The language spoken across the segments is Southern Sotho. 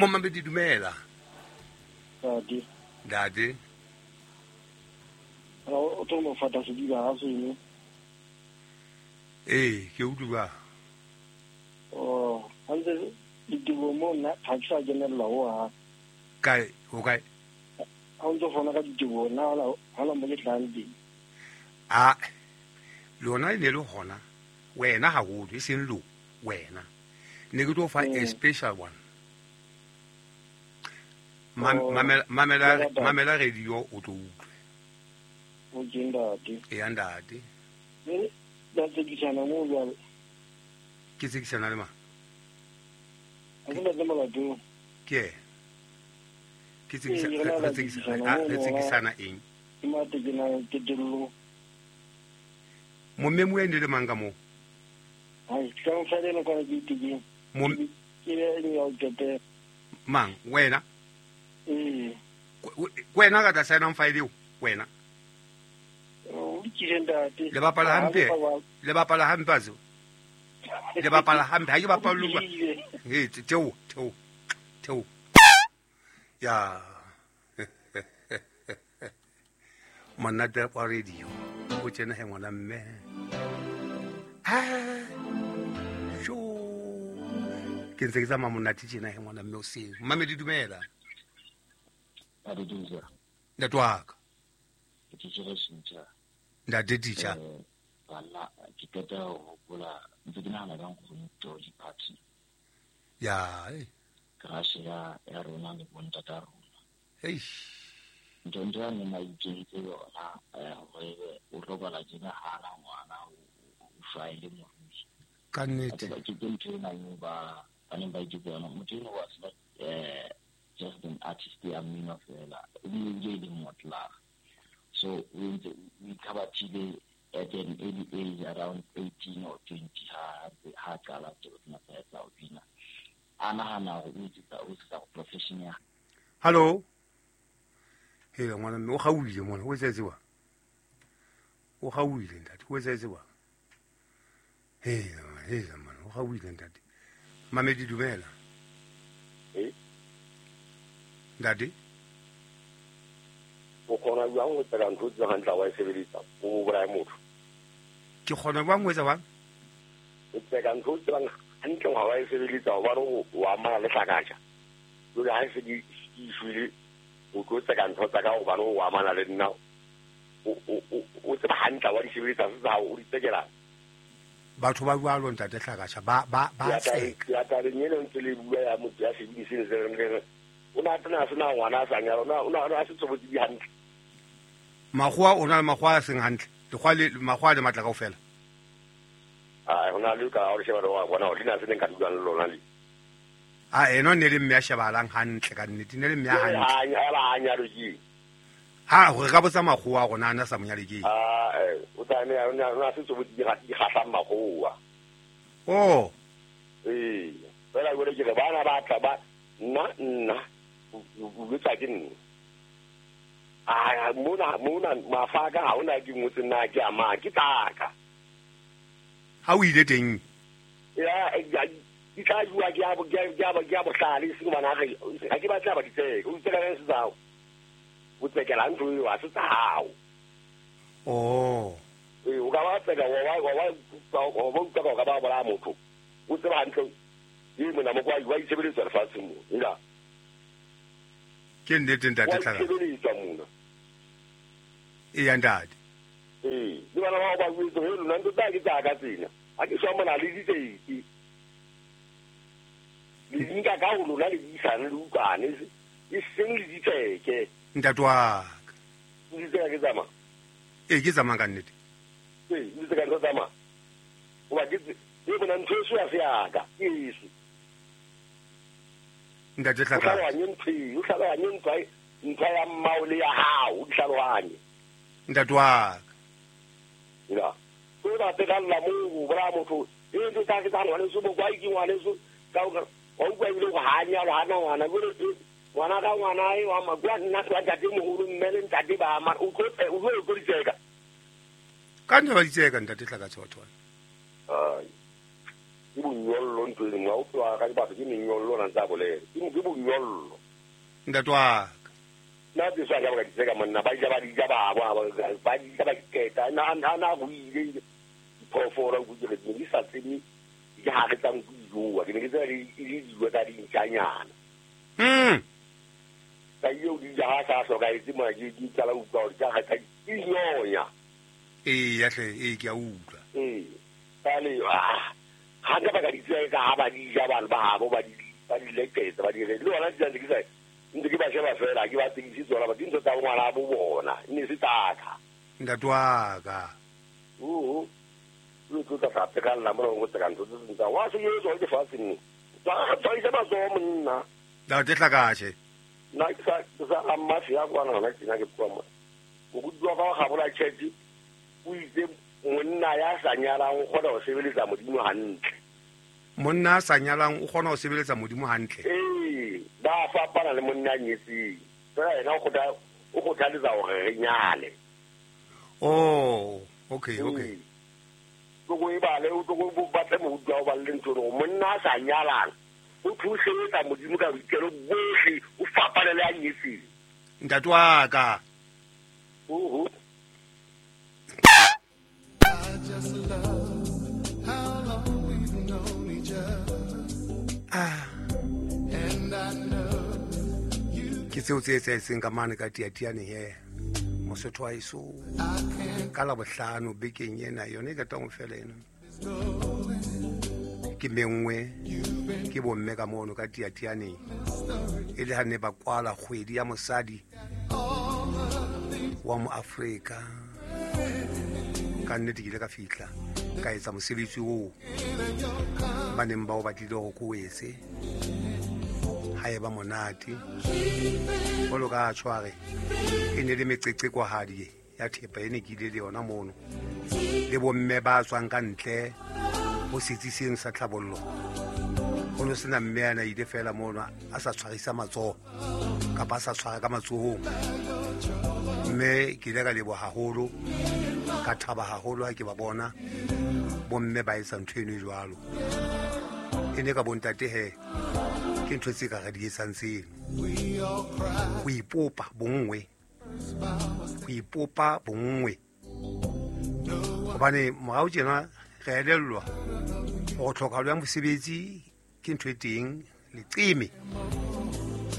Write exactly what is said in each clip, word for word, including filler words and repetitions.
Momamedi dumela. Ntate. Ntate. O tlo mo fata sediba ha seno. Eh, ke utlwa. Oh, hantle ditiro mo nna ha ke sa kenella ho ha. Kae, ho kae? Ha o ntso fona ka ditiro nna ha la mo ke tlang teng. Ah, lona e ne le hona. Wena haholo e seng lo wena. Ne ke tlo fa a special one. Mamela mamela mamela radio o tlo utlwe. O ke ntate. E ntate. Eh, ba tsekisana mo jwale. Ke tsekisana le mang? A ke ntate Molato. Ke. Ke tsekisana re tsekisana re tsekisana eng? Ke mate ke na ke dillo. Momme mo ene le mang ka mo? Ai, ka mo fela ka ke itike. Mo ke le ya o tete. Mang wena? Eh. Wena ka tla sign file eo wena. O ke ntate. Le bapala hampe. Le bapala hampe azo. Le bapala hampe ha ke bapala lwa. Eh, teo, teo. Teo. Ya. Monate wa radio. O tsena he ngwana mme. Ah. Sho. Ke ntse ke tsamaya monate tjena he ngwana mme o seng. Mamedi dumela. Ntate Teacher. Ntate wa ka. Ke tjhere sentja. Ntate Teacher. Bana ke qeta ho hopola ntse ke nahana ka nkgono George Party. Ya, eh. Crash ya ya rona le bontata rona. Eish. Ntho ntho ya nna ikentse yona hore o robala tjena ha na ngwana o faile morui. Ka nnete. Ke ke ntho ena eo ba ba neng ba itse yona. Motho eno was not eh just an artist ya mmino fela. O bile le motla. So we we khabathile at an early age around eighteen or twenty ha ha qala tse tsena tsa ho bina. A nahana hore o etsa o etsa profession ya. Hello. Hela ngwana mme o gaoile mona o etsetse wa. O gaoile ntate o etsetse wa. Hela hela mona o gaoile ntate. Mamedi dumela. Eh? Ntate. O kgona jwang ho tsela ntho tse hantle wa e sebedisa o bolaya motho? Ke kgona jwang ho etsa bang? O tseka ntho tse bang hantle wa e sebedisa hobane o amana le hlakatja. Jwale ha se di shwele o tlo tseka ntho tsa ka hobane o amana le nna. O o o tseba hantle wa di sebedisa se tsa o di tsekela. Batho ba jwalo ntate Hlakatjha ba ba ba tseka. Ya tla le nyele ntse le bua ya motho ya sebediseng se re o na tena sena ngwana a sa nyala o na o na se tsobotsi di hantle. Makgowa o na le makgowa a seng hantle. Lekgowa le makgowa le matla kaofela. Ah, hona le ka o sheba wa bona o dina se neng ka dulang le lona le. Ah, eno ne le mme ya shebahalang hantle ka nnete ne le mme ya hantle. Ha ba nyalo ke. Ha re ka botsa makgowa rona ana sa monyale ke. Ah, eh o tla ne o na se tsobotsi di di kgahlang makgowa. Oh. Eh, fela go le ke bana ba tla ba nna nna o botsa ke nna. Ah, mona mona mafaka ha ona ke ngotse nna ke ama ke tsaka. Ha o ile teng? Ya, di tla jua ke ya ke ya ke ya bohlale se bana re ha ke batla ba ditseke o tseka se tsao. O tsekela ntho eo a se tsao. Oh. Eh, o ka ba tseka wa wa wa wa wa ka ba bola motho. O tseba hantle e mona mo kwa wa itsebeletsa lefatsheng mo. Ila. Ke nnete ntate Hlaka. Wa itsebeletsa mona. E ya ntate. Eh, le bana ba ba buitse he lona ntho tsa ke tsa ka tsena. Ha ke shwa mona le ditseki. Le nka ka ho lona le buisane le utlwane e seng le ditseke. Ntate wa ka. Ditseka ke tsamaya. Eh, ke tsamaya ka nnete. Eh, ditseka ntho tsamaya. O ba ke e bona ntho e ya se ya ka. Ke eso. Ntate Hlaka. O hlalohanye ntho e, o hlalohanye ntho ntho ya mmao le ya hao, o hlalohanye. Ntate wa ka. Ya. O ba pegalla mo bora motho e ntho tsa ke tsa ngwaneso bo kwa ke ngwaneso ka o o utlwa ebile go ha nyalo ha na ngwana ngwana ka ngwana e wa magwa nna ka ntate moholo mme le ntate ba ma o tlo o tlo tlo ditseka. Ka nna ba ditseka ntate Hlaka Tshothwana. Ai. Ke bonyollo ntho e nngwe, o tloha ka dibaka ke menyollo na ntsa bolela. Ke ke bonyollo. Ntate wa ka. Nna tse sa ka ba di tseka monna ba ja ba di ja ba ba ba di ja ba keta na na na go ile phoofolo go dire di sa tsebe di ha re tsang go joa ke ne ke tsela di di dijo tsa dintjanyana. Mm. Ka eo di ja ha sa hloka etse mona ke ke tsala utlwa hore ka ga tsa di nyonya. Ee ya hle ee ke a utlwa. Ee. Kale ah ha ka ba ka di tseka ha ba di ja bana ba habo ba di ba di leketsa ba di re le ona di ke sa ntse ke ba sheba fela ke ba tsebise tsona ba dintho tsa ngwana bo bona e ne se tsaka. Ntate wa ka. Oo. Lo tlo tla sa pekalla mona go tseka ntho tse sentsa wa se yo ke fatshe nne. Tsa tsa isa matsoho monna. Ntate Hlakashe. Nna ke sa ke sa amma ya kwana hona ke nna ke bua mona. Moruti wa ka wa gabola church o itse monna ya sa nyalang o kgona ho sebeletsa Modimo hantle. Monna a sa nyalang o kgona ho sebeletsa Modimo hantle. Ee, ba fapana le monna a nyetseng. Fela yena o kgotha o kgothaletsa hore re nyale. Oh, okay, okay. Toko e bale o toko bo batle moruti wa o balle ntho eno monna a sa nyalang o thusetsa Modimo ka boikelo bohle o fapane le a nyetseng. Ntate wa ka. Oho. I just love how long we've known each other. Ah. And I know you Ke tseo tse etsahetseng ka mane ka Tiatiane he. Mosotho wa eso. Ka la bohlano bekeng ena yone e qetang ho fela ena. Ke mengwe ke bomme ka mono ka Tiatiane. E le ha ne ba kwala kgwedi ya mosadi wa mo Afrika. Ka nnete ke ile ka fihla ka etsa mosebetsi oo ba neng ba o batlile hore ke o etse. Ha e ba monate. Jwalo ka tshware e ne le meqeqekwahadi ya thepa e ne ke ile le yona mono. Le bomme ba tswang ka ntle ho setsi seno sa tlhabollo. Ho no sena mme ana ile fela mono a sa tshwarisa matsoho kapa a sa tshwara ka matsohong. Mme ke ile ka leboha haholo, ka thaba haholo ha ke ba bona bomme ba etsa ntho eno e jwalo. E ne ka bontate he ke ntho tse ka re di etsang tseno. Ho ipopa bonngwe, ho ipopa bonngwe. Hobane morao tjena re elellwa hore tlhokahalo ya mosebetsi ke ntho e teng leqeme.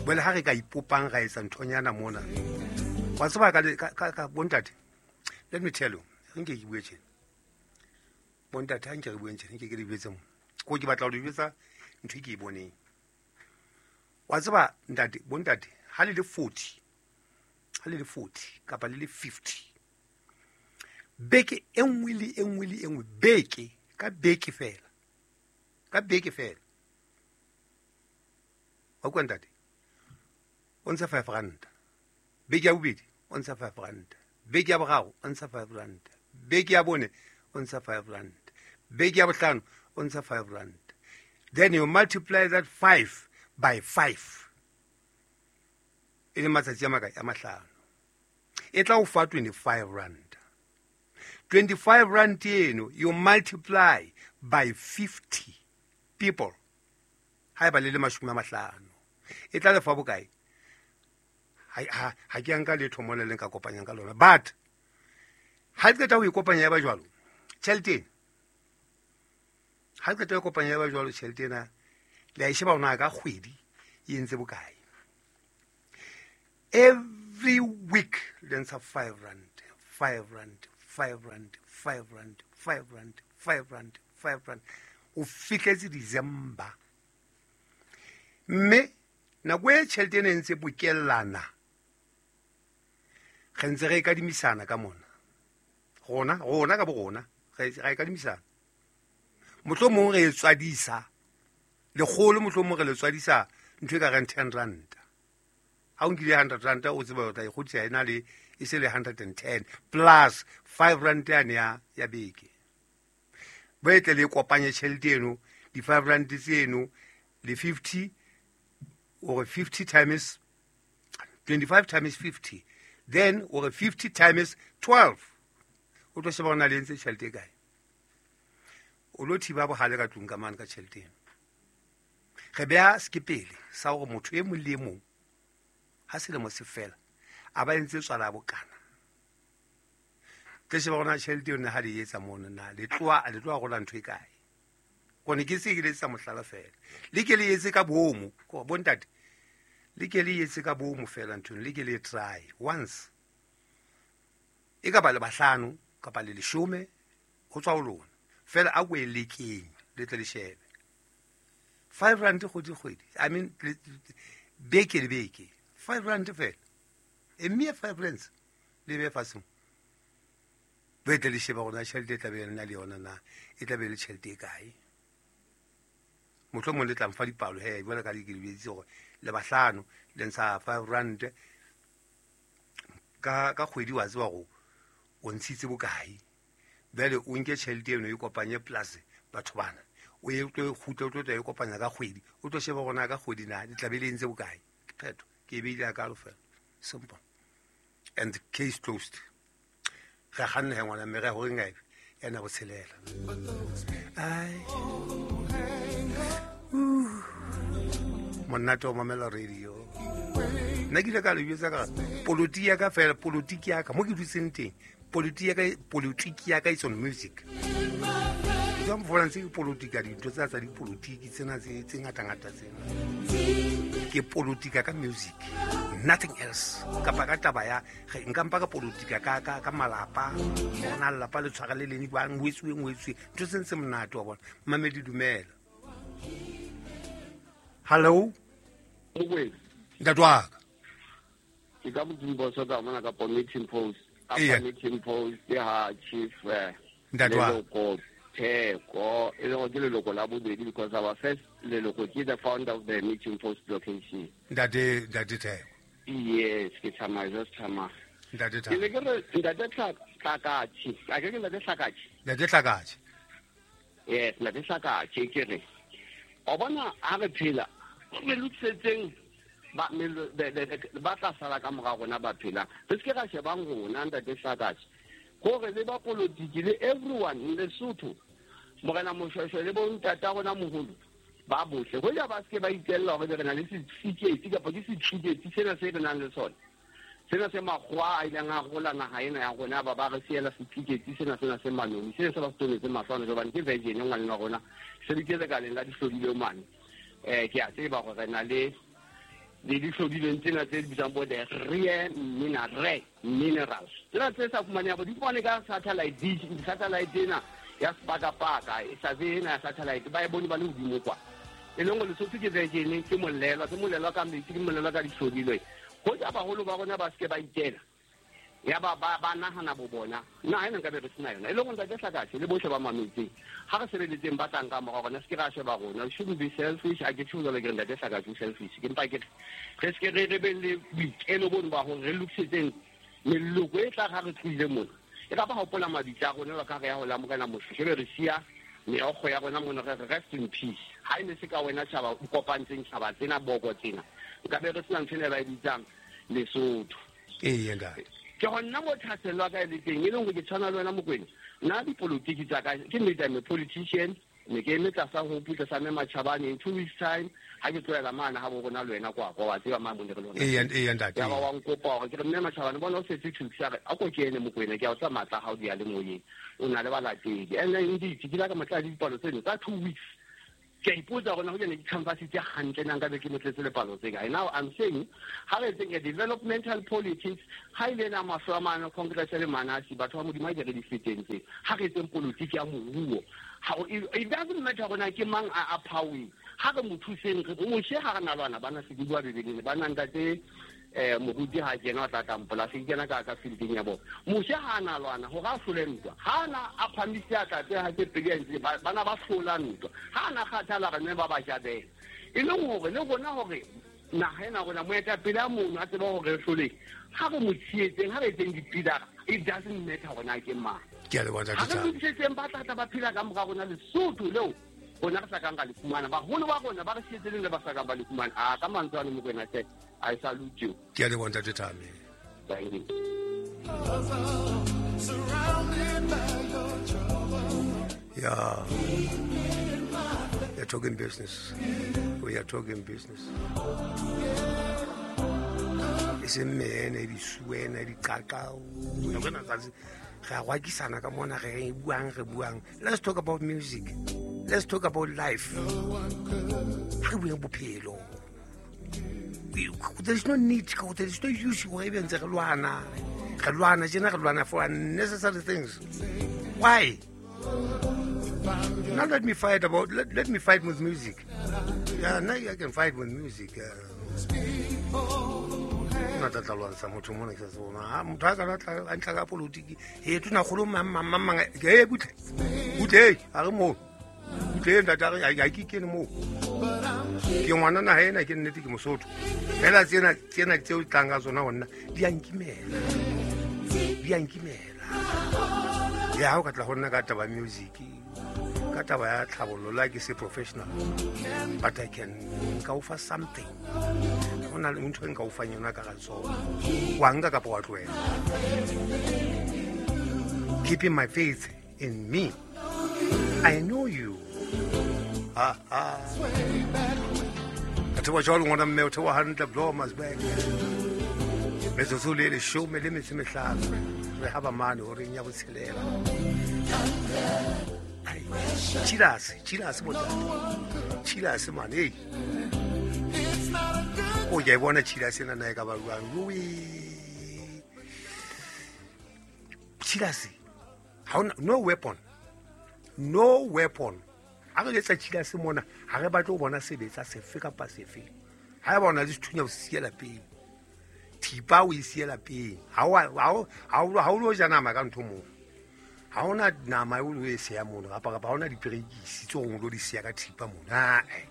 Jwale ha re ka ipopang ra etsa nthonyana mona. Wa tseba ka ka ka bontate. Let me tell you, nke ke bue tjena. Bontate ha nke re bueng tjena, nke ke le betse mo. Ko ke batla ho le jwetsa ntho e ke e boneng. Wa tseba ntate, bontate, ha le le forty, ha le le forty kapa le le fifty. Beke e nngwe le e nngwe le e nngwe, beke ka beke fela. Ka beke fela. Wa utlwa ntate? O ntsha five rand. Beke ya bobedi o ntsha five rand. Beke ya boraro o ntsha five rand. Beke ya bone o ntsha five rand. Beke ya bohlano o ntsha five rand. Then you multiply that five by five. E le matsatsi a makae? A mahlano. E tla o fa twenty-five rand. twenty-five rand eno you multiply by fifty people. Haeba le le mashome a mahlano. E tla le fa bokae? Ha ha ha ke nka letho mona le nka kopanyang ka lona. But ha ke qeta ho ikopanya ya ba jwalo, tjhelete ena. Ha ke qeta ho ikopanya ya ba jwalo tjhelete ena, le a e sheba hore na ka kgwedi e entse bokae. Every week le ntsha five rand, five rand, five rand, five rand, five rand, five rand, five rand. O fihletse December. Mme nako e tjhelete ena e ntse bokellana, re ntse re e kadimisana ka mona. Rona, rona ka borona, re re e kadimisana. Mohlomong re e tswadisa lekgolo, mohlomong re le tswadisa ntho e ka reng ten rand. Ha o nkile hundred rand o tseba o tla e kgutlisa ena le e se le hundred and ten plus five rand yane ya ya beke. Ba etle le kopanye tjhelete eno, di five rand tseno le fifty or fifty times twenty-five times fifty, then or fifty times twelve. O tlo sheba hore na le entse tjhelete e kae. O lo thiba bohale ka tlung ka mane ka tjhelete eno. Re beha sekepele sa hore motho e mong le e mong ha selemo se fela a ba entse tswala ya bokana. Tle sheba hore na tjhelete eno ha le etsa mono na le tloha le tloha rola ntho e kae. Kone ke se ke le etsa mohlala fela. Le ke le etse ka boomo, ko bontate. Le ke le etse ka boomo fela ntho le ke le try once. E ka ba le bahlano kapa le leshome ho tswa ho lona. Fela a ko e lekeng le tle le shebe. Five rand kgwedi kgwedi. I mean beke le beke. Five rand fela. E mere five rands le be fatshe. Be tle le shebe hore na tjhelete e tla be le na le yona na e tla be le tjhelete e kae. Mohlomong le tla mfa dipalo he jwale ka le ke le bitsitse hore le bahlano le ntsha five rand ka ka kgwedi wa tseba hore o ntshitse bokae. Bjale o nke tjhelete eno e kopanye plus batho bana. O ye tlo kgutla o tlo tla e kopanya ka kgwedi. O tlo sheba hore na ka kgwedi na di tla be le entse bokae. Ke phetho. Ke e beile ka fela. Simple. And the case closed. Re kganna he ngwana mme re horeng ae ena botshelela. Ai. Monate o mamela radio. Nna ke ile ka le jwetsa ka polotiki ya ka fela, polotiki ya ka mo ke dutseng teng. Polotiki ya ka, polotiki ya ka it's on music. Jwang mfola ntse ke politika dintho tsa tsa dipolotiki tsena tse tse ngata-ngata tsena. Ke politika ka music, nothing else. Kapa ka taba ya nka mpa ka politika ka ka ka malapa, ona lelapa le tshwara le leng jwang, ho etsuwe ho etsuwe. Ntho tse ntse monate wa bona. Mamedi dumela. Hello. Mokwena. Ntate wa ka. Ke ka Modimo so ka mona ka meeting post. Apa meeting post ya chief Ntate wa ka. Theko e le go ke leloko la bobedi because our first leloko ke the founder of the meeting post location. Ntate Ntate Theko. Yes, ke tsamaya just tsamaya. Ntate Theko. Ke le ke re Ntate Hlakatshi. A ke ke Ntate Hlakatshi. Ntate Hlakatshi. Yes, Ntate Hlakatshi ke re. O bona ha re phela re lokisetseng ba ba tla sala ka mora rona ba phela. Re se ke ra shebang rona Ntate Hlakatshi. Gore le ba politiki le everyone in Lesotho morena Moshweshwe le bontata rona moholo ba bohle ho ja ba se ke ba itella hore re na le sefiketi kapa ke sefiketi sena se re nang le sona sena se makgowa a ileng a rola naha ena ya rona ba ba re siela sefiketi sena sena se manoni sena se ba se tonetse mahlwana jobane ke virgin ngwaneng wa rona se di kele kaleng la dihlodile mane eh ke a tseba hore re na le le dihlodileng tsena tse bitsang bo the rare mineral minerals tsena tse sa fumaneng bo di fumane ka satellite dish satellite ena ya sepakapaka e sa ena ya satellite ba e bone ba le hodimo kwa e leng Lesotho ke virgin ke molelwa ke molelwa ka metsi ke molelwa ka dihlodilwe ho ja baholo ba rona ba se ke ba itela ya ba ba ba nahana bo bona nna ena nka be re sena yona e leng Ntate Hlakatshi le bohle ba mametseng ha re sebeletseng ba tlang ka mora rona se ke ra sheba rona we shouldn't be selfish. A ke tjho jwalo ke re Ntate Hlakatshi o selfish ke mpa ke re se ke re re be le boikelo bono ba hore re lokisetseng meloko e tla ha re tlohile mona e ka ba hopola mabitla a rona ka re ya ho la morena Moshweshwe be re siya meokgo ya rona mona re rest in peace. Ha e ne se ka wena tjhaba o kopantseng tjhaba tsena boko tsena nka be re sena ntho ena ba e bitsang Lesotho. Ee ntate. Ke hona mo thaselwa ka le teng e leng hore ke tshwana le wena Mokwena nna dipolotiki tsa ka ke nnete I'm a politician ne ke eme tlasa ho putla sa mme Matjhabane in two weeks time ha ke tlohela mane ha bo rona le wena kwa kwa wa tseba mane mo ne re lona. Ee ee ntate. Ya ba wa nkopa hore ke re mme Matjhabane bona o setse two weeks a re a ko kene Mokwena ke a o tsa matla ha o di ya le moyeng o na le balatedi and then indeed ke la ka matla dipalo tseno tsa two weeks ke a ipotsa hore na ho kene di-canvas tse hantle na nkabe ke motletse lepalo tse kae. Now I'm saying ha re etseng a developmental politics ha ile na mahlo a mane congress le manasi batho ba Modimo a ke re di feteng tse ha re etseng politiki ya moruo ha it doesn't matter hore na ke mang a a powering ha re mo thuseng re Moshe ha re na lwana bana se di bua Bibeleng ba nang ntate eh moruti ha kena o tla tla mpola se kena ka ka fielding ya bona Moshe ha na lwana hore a hlole ntwa ha na a phamise a tla tse ha tse pedi ntse bana ba hlola ntwa ha na kgathala re ne ba ba jabela e leng hore le rona hore naha ena rona moetapele a mono a tseba hore re hlole ha re mo tshehetseng ha re etseng dipidara it doesn't matter hore na ke mang. Ke a leboha Ntate Ha re lokisetseng ba tla tla ba phela ka mora rona Lesotho leo rona re sa kang ka le fumana baholo ba rona ba re sietseng le ba sa kang ba le fumana a ka mantswe ano Mokwena hle I salute you. Ke a leboha Ntate Thame. Thank you. Yeah. We are talking business. We are talking business. It's a man, a swen, a cacao. Let's talk about music. Let's talk about life. There's no need, there's no use for unnecessary things. Why? Now let me fight about let, let me fight with music. Yeah, now I can fight with music. Not that I motho mona ke sa tsona motho a ka tla a ntla ka politiki he tuna kholo mang mang mang ke butle butle a re mo butle ntate a re ke kene mo ke ngwana na ena ke nnete ke mosotho fela tsena tsena tseo tlang ka tsona honna di a nkimela di a nkimela ya ha o ka tla honna ka taba music ka taba ya tlhabollo la ke se professional but I can go for something ona le ntho e nka o fang yona ka ga tsona wa nka kapa wa tlohela. Keeping my faith in me. I know you. Ah ah. Ka thewa jwalo ngwana mme o thewa hantle blow mas back. Metsotso le leshome le metso e mehlano re ha ba mane horeng ya botshelela. Chilase, chilase bontate. Chilase mane. Hey. O ke bona chilase na na e ka ba jwang. Ui. Chilase. Ha ona no weapon. No weapon. Ha re letsa chilase mona, ha re batle ho bona sebetsa sefe kapa sefe. Ha e bona le sethunya o siela pele. Thipa o e siela pele. Ha o ha o ha o lo ja nama ka ntho moo. Ha ona nama e o e siya mono kapa kapa ha ona diperekisi tse o lo di siya ka thipa mona. Eh.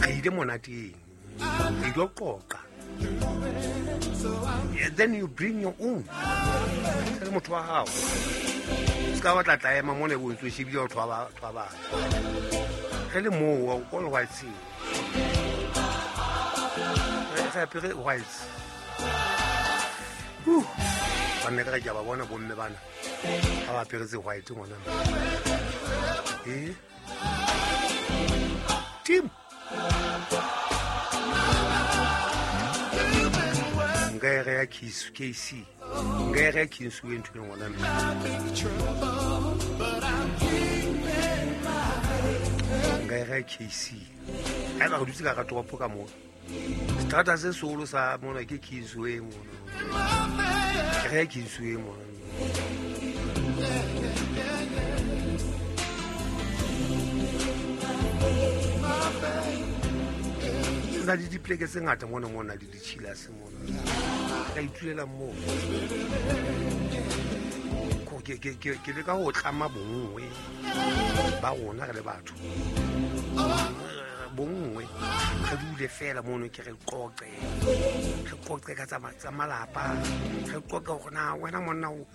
Re ile monateng. Re ilo qoqa. Then you bring your own. Tell motho wa hao. Ska batla tla ema mona bo ntse shebile batho ba batho ba. Re le moo all white sea. Re apere white. Uh. Ba nne ka ke ba bona bomme bana. Ha ba aperetse white ngwana. Eh? Team. Nka e reya K C. Nka e reya Kingsway ntho e ngwana mme. Nka e reya K C. Ha eba re dutse ka toropo ka mona. Strata se seholo sa mona ke Kingsway mona. Ke reya Kingsway mona. Na le dipleke tse ngata mona mona le ditshilase mona. Ka itulela moo. Ko ke ke ke ke leka ho tlama bonngwe ba rona re le batho. Bonngwe re dule fela mono ke re qoqe. Re qoqe ka tsa tsa malapa. Re qoqe hore na wena monna o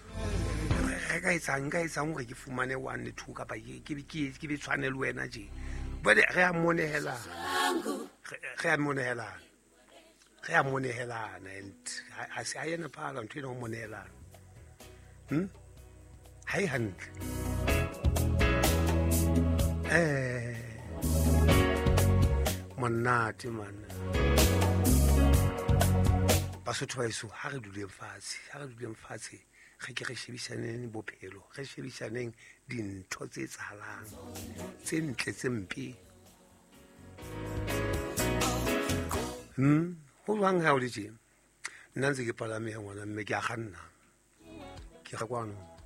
re ka etsang ka etsang hore ke fumane one le two kapa ke ke ke be tshwane le wena je. But re a monehela. Re a monehelana. Re a monehelana and ha se a yena phala ntho ena ho monehelana. Hm? Ha e hantle. Eh. Monate man. Basotho ba heso ha re duleng fatshe, ha re duleng fatshe re ke re shebisaneng bophelo, re shebisaneng dintho tse etsahalang, tse ntle tse mpe. Hmm, ho jwang ha o le tje? Nna ntse ke palame ya ngwana mme ke a kganna. Ke ga kwano.